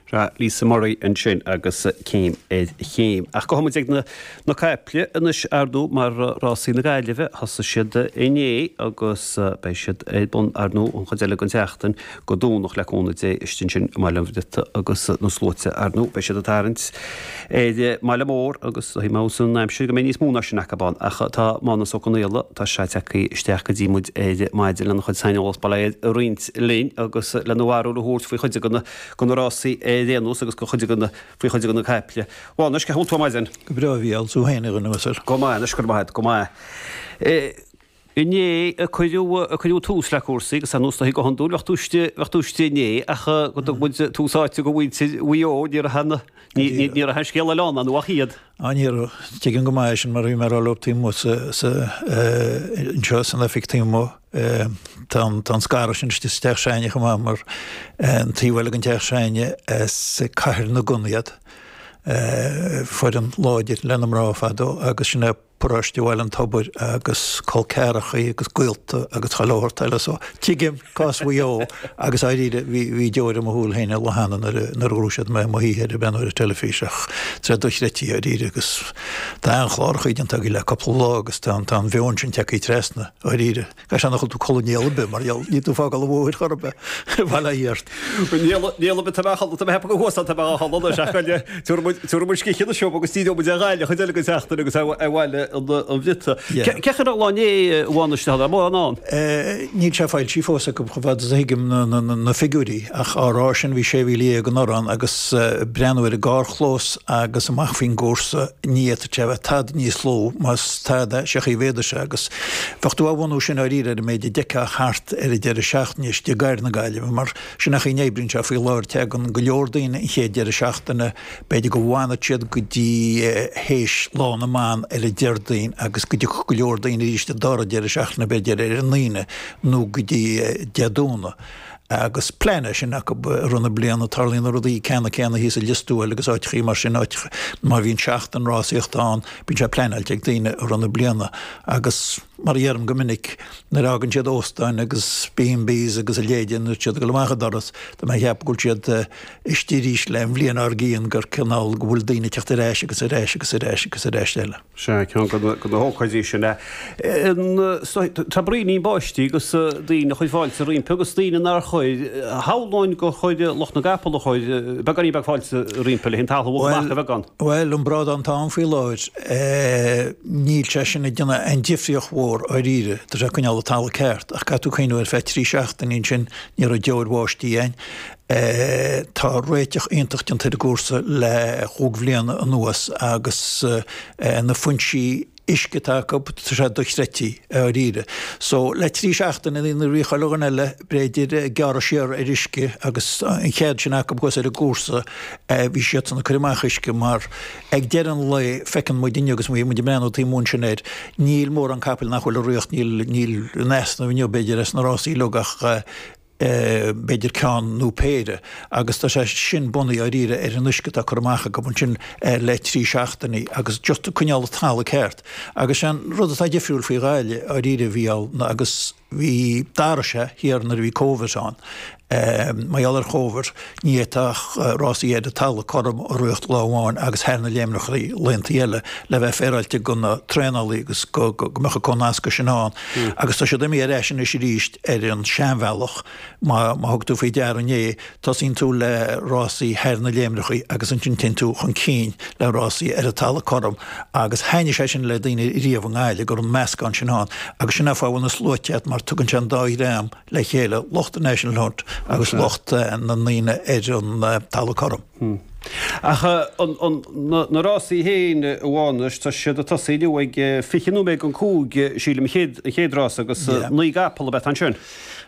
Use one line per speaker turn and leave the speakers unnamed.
Sea, Lisa Murray ansin agus Céim ar Chéim. Ach gabhfaidh muid ag na na caiple anois ar ndóigh mar rásaí na Gaillimhe, thosaigh siad inné agus beidh siad ar bun ar ndóigh an chuid eile den tseachtain go Domhnach le cúnamh Dé istigh ansin i mBaile an Bhriotaigh agus na sluaite ar ndóigh beidh siad ag tarraingt ar an mbaile mór agus tá mé san aimsir go mbeidh níos mó ná sin acu ann ach tá Mánus Ó Conghaile, tá sé tagtha isteach go dtí muid ar maidin lena chuid saineolas bail ó Dhia air a roinnt linn agus lena bharúil a thabhairt faoi chuid de na de na rásaí ar aon nós agus go chuid de na, faoi chuid de na caiple. A Mhánais, cén chaoi a bhfuil tú ar maidin?
Go breá, a Mhícheáil, tú féin a dhuine uasail.
Go maith anois, go raibh maith agat, go maith. Inné a cuireadh, a cuireadh tús le cúrsaí agus ar nós go hiondúil bheadh tú istigh, bheadh tú istigh inné ach go dtug muid tús áite go mhuintir Mhaigh Eo, ní raibh an, ní, ní, ní raibh an scéal eile ann, ach iad.
Á ní raibh. Tuigim go maith é sin mar bhí mé ag rá leo taobh amuigh sa, sa, anseo san oifig taobh amuigh. Tá an scaradh sin istigh sa teach s'againne chomh maith mar an taobh eile den teach s'againne as Cathair na gCon iad, foireann láidir le na mná fadó agus sin é paróiste Bhaile an Tobair agus col ceathrachaí agus gaolta agus chuile shórt eile so tuigim cás Mhaigh Eo agus dáiríre bhí deoir i mo shúil féin an lá cheana nuair a ghnóthaigh siad mé i mo shuí ag breathnú ar an teilifís ach tá sé dochreidte dáiríre agus tá an-chlárachaí déanta againn le cúpla lá agus tá an mheon sin tagtha trasna. Dáiríre. Caithfidh sé nach bhfuil tú codladh néal ar bith mar gheall, níl tú ag fágáil an bhóthair chor ar bith. Bail ó Dhia ort.
Néal ar bith, tá mé a chodladh, tá mé ag ceapadh go thuas tá mé á chodladh anois ach goile, tabharfaidh muid scíth anois agus díreoidh muid ar Ghaillimh an chuid eile den tseachtain agus ar Bhaile an Bhriotaigh. Cén chaoi a raibh an lá inné, a Mhánais, an raibh mórán ann?
Níl sé foilsithe fós acu chomh fada is a thuigim na figiúirí ach á rá sin bhí 16,000 anuraidh ann agus breathnú ar an gcarrchlós agus amach faoin gcúrsa ní fhéadfadh sé a bheith tada níos lú más tada sé chaoi mhéadaigh sé agus Bheadh tú á bhunú sin dáiríre ar an méid a d'fheicfeá thart ar an deireadh seachtaine istigh i gcathair na Gaillimhe, mar sin an chaoi a n-oibríonn sé faoi láthair, tagann go leor daoine an chéad deireadh seachtaine, b'fhéidir go bhfanfadh siad go dtí théis Lá na mBan ar an Déardaoin agus go dtiocfadh go leor daoine arís an dara deireadh seachtaine b'fhéidir ar an Aoine nó go dtí Dé Domhnaigh. Agus plean é sin acu i rith na bliana. Tarlaíonn na rudaí ceannann céanna thíos i Lios Tuathail agus áiteachaí mar sin, áit má bhíonn seachtain rásaíochta ann, bíonn sé pleanáilte ag daoine i rith na bliana. Agus mar a dheirim go minic, nuair a fhágann siad óstáin agus B&Bs agus a leithéide, nuair atá siad ag dul amach an doras, tá mé ag ceapadh go bhfuil siad istigh arís le an bhliain dár gcionn gur cineál go bhfuil daoine ag teacht ar ais agus ar ais agus ar ais agus ar ais eile.
Sea, ceann de na hócáidí sin é. Tá braoinín báistí agus daoine a chuir fáilte roimpi agus daoine nár chuir. Shamhlóinn gur chuir lucht na gcapall a chuir beagáinín beag fáilte roimpi le an talamh a bhogadh amach a bheagán.
Bhuel, an brádán atá ann faoi láthair, níl sé sin ag déanamh aon difríocht mhór dháiríre. Tá sé ag coinneáil an talamh ceart ach caithfidh tú cuimhniú ar feadh trí seachtainí ansin ní raibh deoir bháistí ann. Tá réiteach iontach déanta ar an gcúrsa le chúig bhliana anuas agus na foinsí uisce atá acu, tá sé dochreidte dháiríre. So le trí seachtaine nuair a bhí chuile dhuine eile b'fhéidir ag gearradh siar ar uisce agus an chead sin acu thuas ar an gcúrsa, bhí siadsan ag cur amach uisce mar ag deireadh an lae feiceann muid inniu agus bhí muid ag breathnú taobh amuigh ansin air, níl mórán capaill nach bhfuil i riocht, níl níl in easnamh inniu b'fhéidir as na rásaí uilig ach b'fhéidir ceann nó péire, agus tá sé sin bunaithe dháiríre ar an uisce atá curtha amach acu ansin le trí seachtainí agus just ag coinneáil an talamh ceart. Agus sé an rud atá difriúil faoi Ghaillimh dháiríre a Mhícheál ná agus bhí d'athraigh sé thiar nuair a bhí Covid ann. Mar gheall ar Chovid ní fhéadfadh rásaí ar an talamh cothrom a rith lá amháin agus thar na léimneachaí laethanta eile le bheith féaráilte go na traenálaí agus go mbeadh an comhnascadh sin ann. Agus tá siad imithe ar ais anois arís ar an seanbhealach, má thug tú faoi deara inné, tosaíonn tú le rásaí thar na léimreachaí agus ansin téann tú chun cinn le rásaí ar an talamh cothrom agus thaitnigh sé sin le daoine riamh i nGaillimh go raibh an meascán sin ann agus sin an fáth a bhfuil na sluaite ann mar tugann sé an dá dhream le chéile, lucht an National Hunt agus lucht na ndaoine ar an talamh cothrom.
Ach na rásaí féin, a Mhánais, tá siad ag tosaí inniu ag 5 nóiméad don 5, sílim, an chéad rás agus 9 gcapall ab ea ansin.